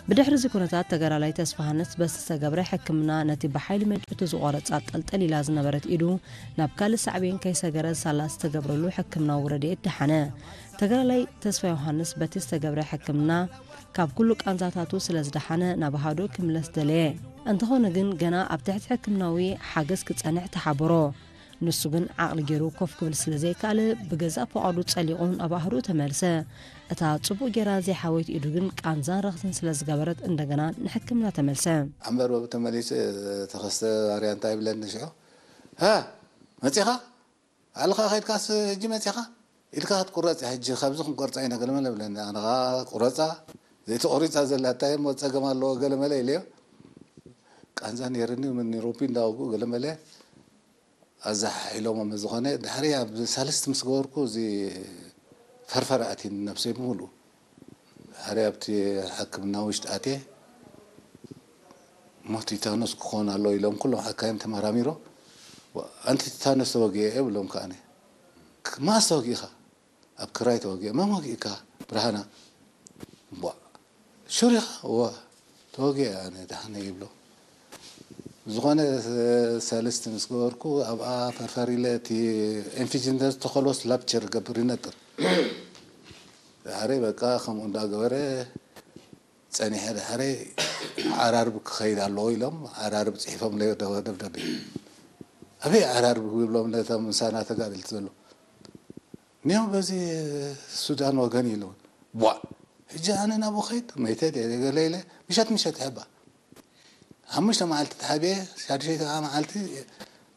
ብድሕሪ እዚ ኩነታት ተጋዳላይ ተስፋሃንስ በቲ ዝተገብረ ሕክምና ነቲ ብሓይሊ መንጨቱ ዝቖረጻ ጠልጠል ኢላ ዝነበረት ኢዱ ናብ ካልእ ሳዕቤን ከይሰገረ ሳላ ዝተገብረሉ ሕክምናዊ ረድኤት ደሓነ። ተጋዳላይ ተስፋ ዮሃንስ በቲ ዝተገብረ ሕክምና ካብ ኩሉ ቃንዛታቱ ስለ ዝደሓነ ናብ ኣሃዱ ክምለስ ደለየ። እንተኾነ ግን ገና ኣብ ትሕቲ ሕክምናዊ ሓገዝ ክጸንሕ ተሓበሮ። ንሱ ግን ዓቕሊ ገይሩ ኮፍ ክብል ስለ ዘይከኣለ ብገዛእ ፍቓዱ ጸሊቑ ናብ ኣህዱኡ ተመልሰ። እታ ጽቡቕ ጌራ ዘይሓወየት ኢዱ ግን ቃንዛን ረኽስን ስለ ዝገበረት እንደገና ንሕክምና ተመልሰ። ኣንበር ወብ ተመሊሱ ተኸስተ ባርያ እንታይ ይብለኒ ሽዑ? ሃ መጺኻ? ባዕልኻ ከይድካስ ሕጂ መጺኻ? ኢድካ ክትቁረጽ እያ ሕጂ፣ ካብዚ ክንቆርጻ ኢና ገለመለ ብለኒ። ኣነ ኸኣ ቁረጻ፣ ዘይተቖሪጻ ዘላ እንታይ እሞ ጸገም ኣለዎ ገለመለ ኢለዮ። ቃንዛ ነይርኒ፣ ምን ሮቢ እንዳወግኡ ገለመለ ኣዛሓሒሎሞ። ዝኾነ ድሕሪ ኣብ ሳልስቲ ምስ ገበርኩ፣ እዚ ፈርፈር ኣትዩኒ ነብሰይ ብምሉኡ። ድሕሪ ኣብቲ ሕክምና ውሽጢ ኣትየ፣ እሞ ቲታኖስ ክኾን ኣለዎ ኢሎም ኩሎም ሓካይም ተመራሚሮ። ኣንቲ ቲታኖስ ተወጊአ እየ ብሎም ከኣነ። ማስ ተወጊእኻ? ኣብ ክራይ ተወጊአ። መን ወጊእካ? ብርሃና። እምቧ። ሹር ኢኻ? እወ። ተወጊአ ኣነ ደሓነ ይብሎ። ዝኾነ ሰልስቲ ምስ ገበርኩ ኣብኣ ፈርፈር ኢለ እቲ ኢንፊጅን ዝተኸልወስ ላፕቸር ገብር ይነጥር። ድሕሪ በቃ ከምኡ እንዳገበረ ጸኒሐ ድሕሪ ዓራርብ ክኸይድ ኣለዎ ኢሎም ዓራርብ ጽሒፎም ለዮ ደብዳቤ። ኣበይ ዓራርብ ይብሎም ነቶም ምሳና ተጋደልቲ ዘሎ? ኒዮ በዚ ሱዳን ወገን ኢሉ። ቧ! ሕጂ ኣነ ናብኡ ኸይድ መይተ ድየ ገለ ኢለ ምሸት ምሸት ይሕባ። ሓሙሽተ መዓልቲ ተሓቢኤ፣ ሻድሸይቲ ከዓ መዓልቲ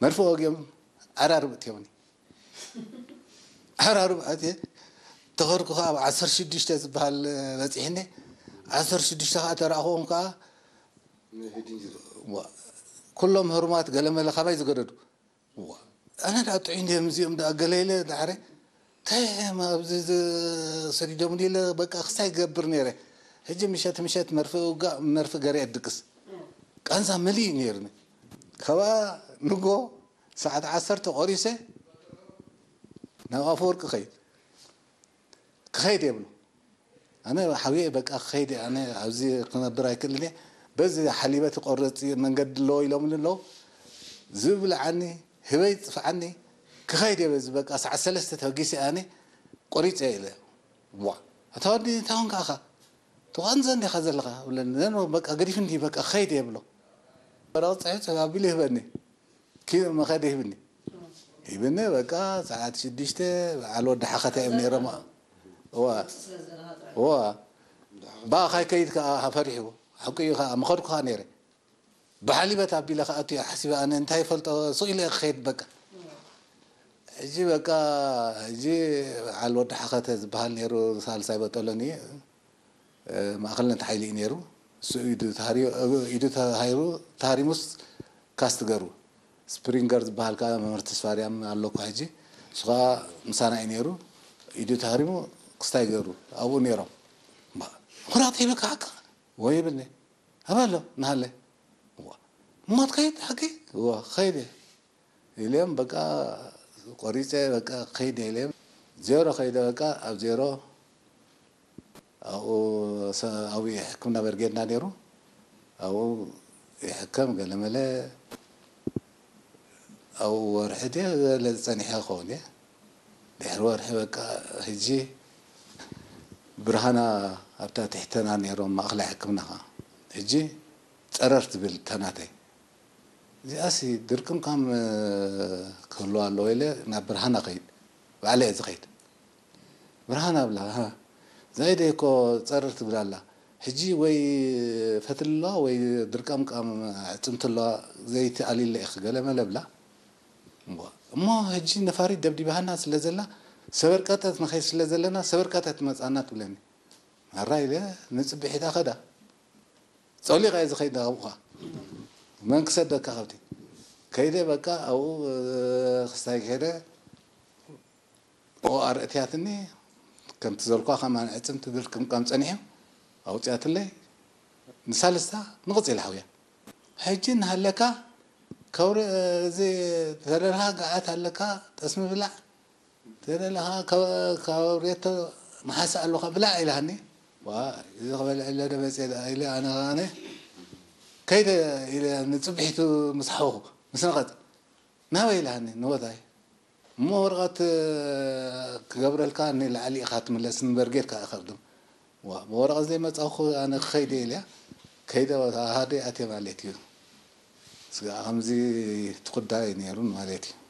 መርፍእ ወጊኦም ዓራርብ እትዮምኒ። ዓራርብ ኣትየ ተኸድኩ ከዓ ኣብ ዓሰርተ ሽዱሽተ ዝበሃል በፂሕኒ። ዓሰርተ ሽዱሽተ ከዓ ተረኣኽዎም ከዓ ዋ፣ ኩሎም ህሩማት ገለመለ ካባይ ዝገደዱ። ዋ፣ ኣነ ደኣ ጥዑይ እንድዮም እዚኦም ደኣ ገለ ኢለ ዳሕረ እንታይ እዮም ኣብዚ ዝ-፣ ሰዲዶምኒ ኢለ በቃ ክስታይ ይገብር ነይረ። ሕጂ ምሸት ምሸት መርፍእ ውጋእ መርፍእ ገሪዐ ድቅስ። ቃንዛ መሊእ ነይርኒ። ካብኣ ንጎ ሰዓት ዓሰርተ ቆሪሰ ናብ ኣፈወርቂ ኸይድ። ክኸይድ የብሉ። ኣነ ሓውየ በቃ ክኸይድ እየ፣ ኣነ ኣብዚ ክነብር ኣይክእልን እየ። በዚ ሓሊበ ትቆርጽ መንገዲ ኣለዎ ኢሎምኒ ኣለዉ። ዝብልዓኒ፣ ህበይ ዝጥፍዓኒ፣ ክኸይድ እየ በዚ በቃ ሰዓት ሰለስተ ተበጊሰ ኣነ ቆሪጸ እየ ኢለ። ዋ፣ ኣታ ወዲ እንታይ ኾንካ ኢኻ? ትቋንዘ እንዲኻ ዘለኻ? ብለኒ። ነኖ በቃ ገዲፍኒ በቃ ክኸይድ እየ ብሎ። ወረቐት ጽሒፉ ኣቢሉ ይህበኒ። ኪ-፣ መኸዲ ሂብኒ። ሂብኒ፣ በቃ፣ ሰዓት ሽዱሽተ በዓል ወዲ ሓኸተ እዮም ነይሮም። እዋ። እዋ። ብኣኻ ይከይድ ከኣ ፈሪሑ። ሓቁ እዩ ከኣ፣ ምኸድኩ ከኣ ነይረ። ብሓሊበት ኣቢለ ክኣቱ እየ ሓሲበ፣ ኣነ እንታይ ይፈልጦ፣ ሱቕ ኢለ እየ ክኸይድ፣ በቃ። ሕጂ፣ በቃ፣ ሕጂ በዓል ወዲ ሓኸተ ዝበሃል ነይሩ፣ ሳልሳይ በጠሎኒ። እ፣ ማእኸልነት ሓይሊ እዩ ነይሩ። እሱ ኢዱ ተሃሪዩ፣ ኢዱ ተሃሪሙ፣ ተሃሪሙስ ካስት ገሩ። ስፕሪንገር ዝበሃል ከኣ መምህር ተስፋርያም ኣሎ እኮ ሕጂ። እሱ ከኣ ምሳና እዩ ነይሩ። ኢዱ ተሃሪሙ ክስታይ ገሩ። ኣብኡ ነይሮም። እምባ፣ ምኹራቕ ይብልካ ሓቅኻ? ወይ ይብልኒ። ኣበይ ኣሎ? እናሃለ። እዋ። እሞ ትኸይድ ሓቂ? እዋ፣ ክኸይድ እየ። ኢልዮም በቃ ቆሪፀ በቃ ከይደ ኢልዮም ዜሮ ከይደ በቃ ኣብ ዜሮ ኣብኡ ሰ-፣ ኣብኡ ሕክምና በርጌድና ነይሩ ኣብኡ ይሕከም ገለመለ ኣብኡ ወርሒ ድየ ገለ ዝፀኒሐ ክኸውን እየ ድሕሪ ወርሒ በቃ ህጂ ብርሃና ኣብታ ትሕተና ነይሮም ማእኸላይ ሕክምና ከዓ ህጂ ፀረር ትብል ተናተይ እዚኣሲ ድርቅምቃም ክህልዋ ኣለዎ ኢለ ናብ ብርሃና ከይድ ባዕለ እየ ዝኸይድ ብርሃና ብላ ዘይደ እኮ ፀርር ትብል ኣላ ሕጂ ወይ ፈትሊ ኣለዋ ወይ ድርቀምቃም ዕፅምቲ ኣለዋ ዘይቲ ኣሊለ ኢኺ ገለ መለ ብላ እሞ ሕጂ ነፋሪት ደብዲባሃና ስለ ዘላ ሰበርቀጠት ንኸይድ ስለ ዘለና ሰበርቀጠት መፃና ትብለኒ ኣራ ኢለ ንፅብሒታ ኸዳ ጸሊቐ እየ ዝኸይድ ናብኡ ኸዓ መን ክሰደካ ከብቲ ከይደ በቃ ኣብኡ ክስታይ ከይደ ኦኣር እትያትኒ ከምቲ ዘልኳ ከማን ዕፅምቲ ድርቅምቃም ፀኒሑ ኣውፅያትለይ ንሳልስታ ንቕፅል ሓውያ ሕጂ እናሃለካ ከውሪ እዚ ተደርሃ ገዓት ኣለካ ጠስሚ ብላዕ ተደለኻ ካብ ሬቶ መሓሳ ኣለኻ ብላዕ ኢላኒ ዋ፣ እዚ ክበልዕ ኢለ ዶ መፅየ ደኣ ኢለ ኣነ ከኣነ ከይደ ኢለ ንፅብሒቱ ምስ ሓወኹ ምስ ነቐፅ ናበይ ኢላኒ ንቦታይ እሞ ወረቐት ክገብረልካ ንላዕሊ ኢኻ ትምለስ እምበር ጌርካ ኢኸርድም ዋ ብወረቐት ዘይመፃኹ ኣነ ክኸይደ ኢለያ ከይደ ሃደ ኣትየ ማለት እዩ ስጋ ከምዚ ትኩዳ እዩ ነይሩ ማለት እዩ